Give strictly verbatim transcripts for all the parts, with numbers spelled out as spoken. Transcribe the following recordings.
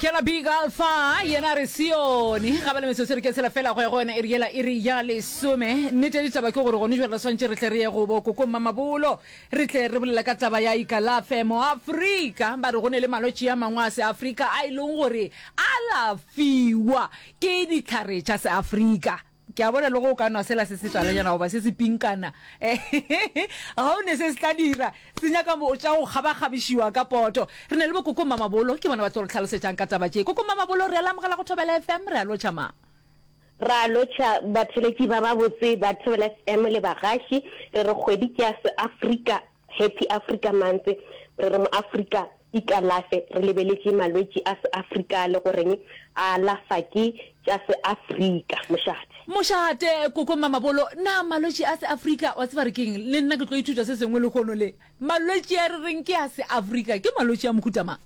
Kela Big Alpha yena re Sione ga ba le metsotso re ke tshela fela go ya go yona iri yela iri ya lesome. Nnete ya ditaba ke gore gone jwale re swantše re tle re ye go bo koko Mamabolo, re tle re bolela ka taba ya ikalafe mo Afrika. Ba re go ne le malwetši a mangwe a Seafrika a e leng gore alafiwa ke dihlare tša Seafrika. Ke a bona le go o ka nwa sela se se talanyana goba se se pinkana, ga o ne se se tla dira, se nyaka tša go kgabakgabišiwa ka poto. Re na le bo koko Mamabolo, ke bona ba tlo re tlhalosetšang ka taba tše. Koko Mamabolo, re a le amogela go Thobela F M, re a lotšha ma. Ra lotšha batheletši ba babotse ba Thobela F M le bagaši. Re re kgwedi ke ya Seafrika, Happy Africa Month. Re re mo Afrika ikalafe, re lebeletše malwetši a Seafrika le goreng a alafa ke tša Seafrika. Mošate. Mošate, koko Mamabolo, na malwetši a Seafrika, wa tseba re keng, le nna ke tlo ithuta se sengwe lehono le. Malwetši a re reng ke a Seafrika, ke malwetši a mohuta mang?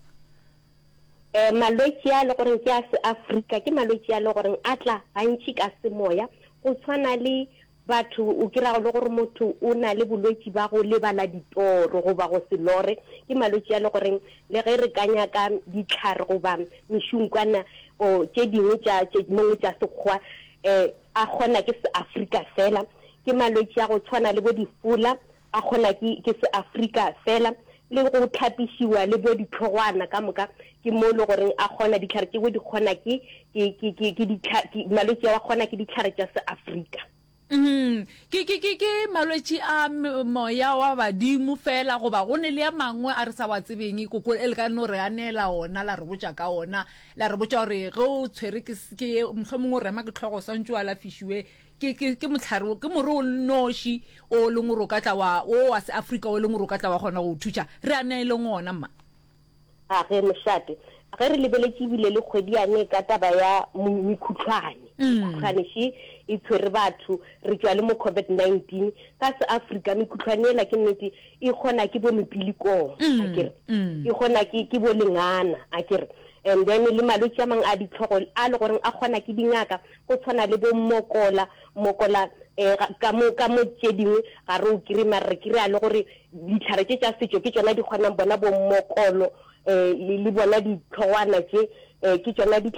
um malwetši a le goreng ke a Seafrika ke malwetši a le goreng a tla gantši ka semoya, go tshwana le batho o kry-ago le gore motho o na le bolwetši ba go lebala ditoro goba go se lore. Ke malwetši a le goreng le ge re ka nyaka ditlhare goba mešunkwana o tše dingwe tša tše mongwe tša sekgwa, um a kgona ke Seafrika fela. Ke malwetši a go tshwana le bo difola, a kgona ke ke Seafrika fela, le go tlhapišiwa le bo ditlhogwana ka moka, ke mo le goreng a kgona ditlhare tšeo di kgona ke ke ke ke ke ditlha ke malwetši a kgona ke ditlhare tša Seafrika. Mm, ke ke ke ke malwetši a moya wa badimo fela goba go ne le a mangwe a re sa wa tsebeng, koko, e le ka no re anela ona, la re botša ka ona, la re botša gore ge o tshwere ke ke mohlomongwe o rema ke tlhogo, swantše o alafišiwe ke ke ke mohlare, ke more o noši o leng gore o ka tla wa o wa Seafrika o leng gore o ka tla wa kgona go o thuša? Re aneleng ona, mma. A ge, mošate, ge re lebeletše ebile le kgwedi yane ka taba ya mekhutlwane, mekhutlwane še e tshwere batho, re tšwa le mo COVID nineteen. Ka Seafrika mekhutlwane ela ke nnete e kgona ke bo mepilikong, a kere e kgona ke ke bo lengana, a kere, and then le malwetši a mangwe a ditlhogo a le goreng a kgona ke dingaka, go tshwana le bo mokola mokola um ka mo ka mo tše dingwe ga re o kry, mare re kry-a le gore ditlhare tše tša setšo ke tšona di kgonang bona bo mokolo, um le bona ditlhogwana tše, um ke tšona ditlhare.